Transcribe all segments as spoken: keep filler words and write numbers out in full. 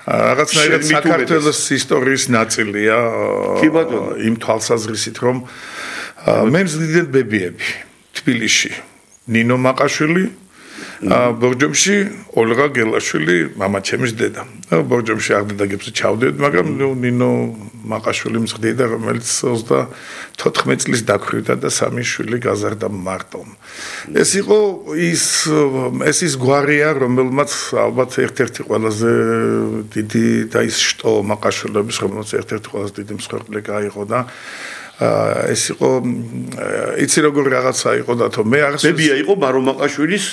რაღაცნაირად საქართველოს ისტორიის ნაწილია იმ თვალსაზრისით რომ მე მზდიდეთ ბებიები თბილისში ნინო მაყაშვილი ბორჯომში ოლღა გელაშვილი მამა ჩემის დედა ბორჯომში აღდადაგებს ჩავდეთ მაგრამ ნინო მაყაშვილი მზდიდა რომელიც ოცდათოთხმეტ წლის დაქვრივდა და სამი შვილი გაზარდა მარტო ეს იყო ის ეს ის გვარია რომელმაც ალბათ ერთ-ერთი ყველაზე დიდი და ის შტო მაყაშვილების რომელმაც ერთ-ერთი ყველაზე დიდი მსხვერპლი გაიღო და ეს იყო იცი როგორ რაღაცა იყო დათო მე აღს ბებია იყო მარო მაყაშვილის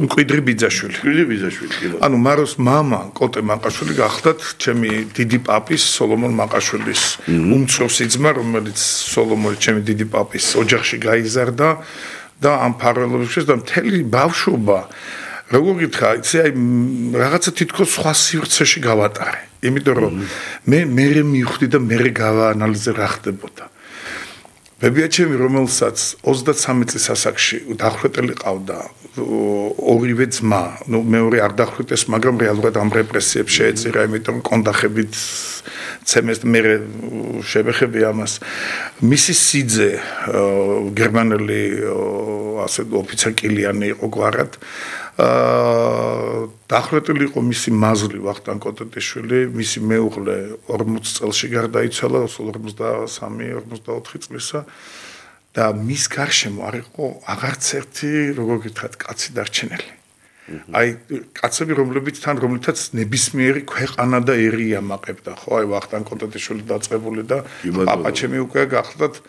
მკვიდრი ბიძაშვილი მკვიდრი ბიძაშვილი ანუ მაროს მამა კოტე მაყაშვილი გახლდათ ჩემი დიდი პაპის სოლომონ მაყაშვილის უმცროსი ძმა რომელიც სოლომონი ჩემი დიდი პაპის ოჯახში გაიზარდა და ამ ფარველობებში და მთელი ბავშვობა როგორ გითხრა იცი აი რაღაცა თითქოს სხვა სივრცეში გავატარე იმიტომ რომ მე მე მივხვდი და მე გავაანალიზე რა ხდებოდა ბებია ჩემი რომელსაც ოცდათსამი წლის ასაკში დახვრეტელი ყავდა ორივე ძმა ნუ მეორე არ დახვრეტეს მაგრამ რეალურად ამ რეპრესიებს შეეწირა იმიტომ კონდახებით ცემეს მე შევეხები ამას მისი სიძე გერმანელი ასე ოფიცერ კილიანი იყო გვარად დახვრეტილი იყო მისი მაზლი ვახტანგ კოტეტიშვილი მისი მეუღლე ორმოც წელში გარდაიცვალა ორმოცდასამი ორმოცდაოთხი წლისა და მის გარშემო არ იყო აღარც ერთი როგორ გითხრათ კაცი დარჩენილი აი კაცები რომლებიც თან რომლითაც ნებისმიერი ქვეყანა და ერი ამაყებდა ხო აი ვახტანგ კოტეტიშვილი დაწყებული და პაპა ჩემი უკვე გახლდათ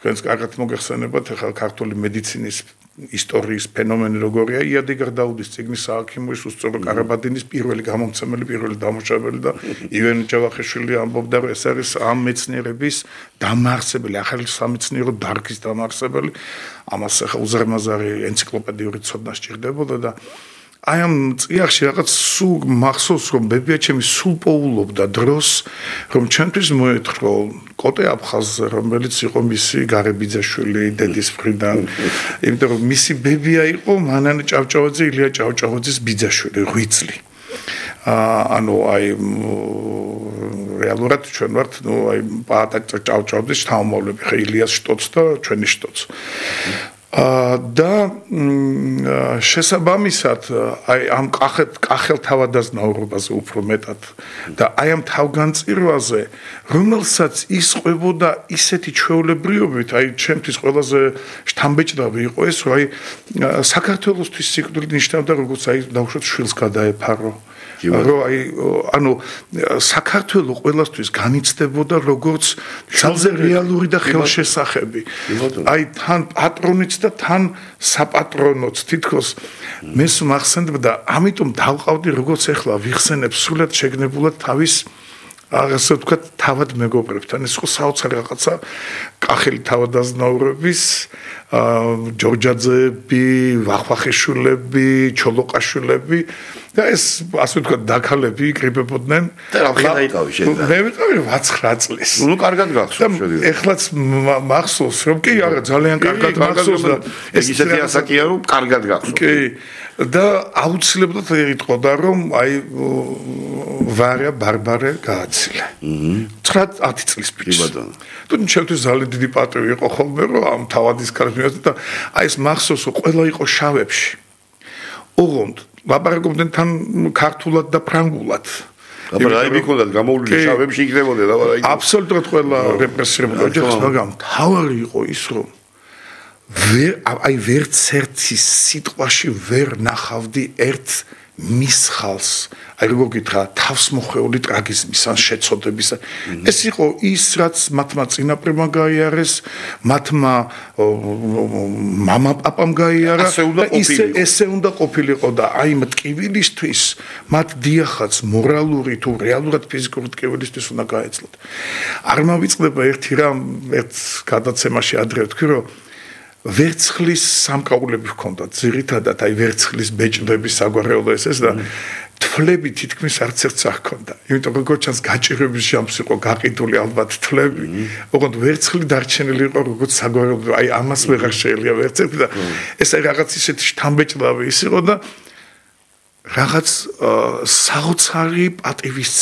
თქვენს კარგად მოგეხსენებათ ახლა ქართული მედიცინის ისტორიის ფენომენი როგორია იადიგარ დაუდის წიგნის სააქიმოის უსწორო კარაბადინის პირველი გამომცემელი პირველი დამუშავებელი და ივენ ჯავახიშვილი ამბობდა რომ ეს არის ამ მეცნიერების დამაარსებელი ახალი სამეცნიერო დარგის დამაარსებელი ამას ახლა უზარმაზარი ენციკლოპედიური ცოდნა სჭირდებოდა და აი ამ წიაღში რაღაც სულ მახსოვს რომ ბებია ჩემი სულ პოულობდა დროს რომ ჩვენთვის მოეთხოვ კოტე აფხაზზე რომელიც იყო მისი გარებიძაშვილი დედის მხრიდან იმიტომ რომ მისი ბებია იყო მანანე ჭავჭავაძე ილია ჭავჭავაძის ბიძაშვილი ღვიძლი ანუ აი რეალურად ჩვენ ვართ ნუ აი პაატა ჭავჭავაძის შთამომავლები ხა ილიას შტოც და ჩვენი შტოც და შესაბამისად აი ამ კახეთ კახელ თავადაზნაურობაზე უფრო მეტად და აი ამ თავგანწირვაზე რომელსაც ის ყვებოდა ისეთი ჩვეულებრიობით აი ჩემთვის ყველაზე შთამბეჭდავი იყო ეს რომ აი საქართველოსთვის სიკვდილით ნიშნავდა როგორც აი დავუშვათ შვილს გადაეფარო რომ აი ანუ საქართველოს ყველასთვის განიცდებოდა როგორც ძალზე რეალური და ხელშესახები აი თან პატრონიც და თან საპატრონოც თითქოს მეს მახსენდება ამიტომ დავყავდი როგორც ახლა ვიხსენებ სულად შეგნებულად თავის ასე ვთქვათ თავად მეგობრებთან ეს ხო საოცარი რაღაცა კახელი თავადაზნაურების ჯორჯაძეები ვახვახიშვილები ჩოლოყაშვილები და ეს ასე ვთქვათ დაქალები იკრიბებოდნენ და რა ხედა შენ მე ვიყავი ვაცხრა წლის ნუ კარგად გახსოვს შედიო ეხლაც მახსოვს რომ კი არა ძალიან კარგად მახსოვს და ეს ისეთი ასაკია რომ კარგად გახსოვს კი და აუცილებლად იტყოდა რომ აი ვარია ბარბარე გააცილა ცხრა-ათი წლის ბიჭი თუ ჩემთვის ძალიან დიდი პატივი იყო ხოლმე რომ ამ თავადის კარგად და აი ეს მახსოვს რომ ყველა იყო შავებში ოღონდ ლაპარაკობდნენ თან ქართულად და ფრანგულად აბა რა მიქონდათ გამოვლილი შავებში იქნებოდა და რა აბსოლუტურად ყველა რეპრესირებული ოჯახს მაგრამ თავარი იყო ის რომ ვერ აი ვერც ერთი სიტყვაში ვერ ნახავდი ერთ მისხალს აი როგორ გითხრა თავს მოხეული ტრაგიზმის ან შეცოდების ეს იყო ის რაც მათმა წინაპრებმა გაიარეს მათმა მამა პაპამ გაიარა ისე ესე უნდა ყოფილიყო და აი მტკივილისთვის მათ დიახაც მორალური თუ რეალურად ფიზიკური მტკივილისთვის უნდა გაეცლოთ არ მავიწყდება ერთი რამ ერთ გადაცემაში ადრე ვთქვი რომ ვერცხლის სამკაულები ჰქონდათ ძირითადად აი ვერცხლის ბეჭდების საგვარეულო ეს ეს და თვლები თითქმის არც ერთს არ ჰქონდა იმიტომ რომ როგორც ჩანს გაჭირვების ჟამს იყო გაყიდული ალბათ თვლები ოღონდ ვერცხლი დარჩენილი იყო როგორც საგვარეულო აი ამას ვეღარ შეიძლება ვერც ერთი და ეს აი რაღაც ისეთი შთამბეჭდავი ის იყო და რაღაც საოცარი პატივის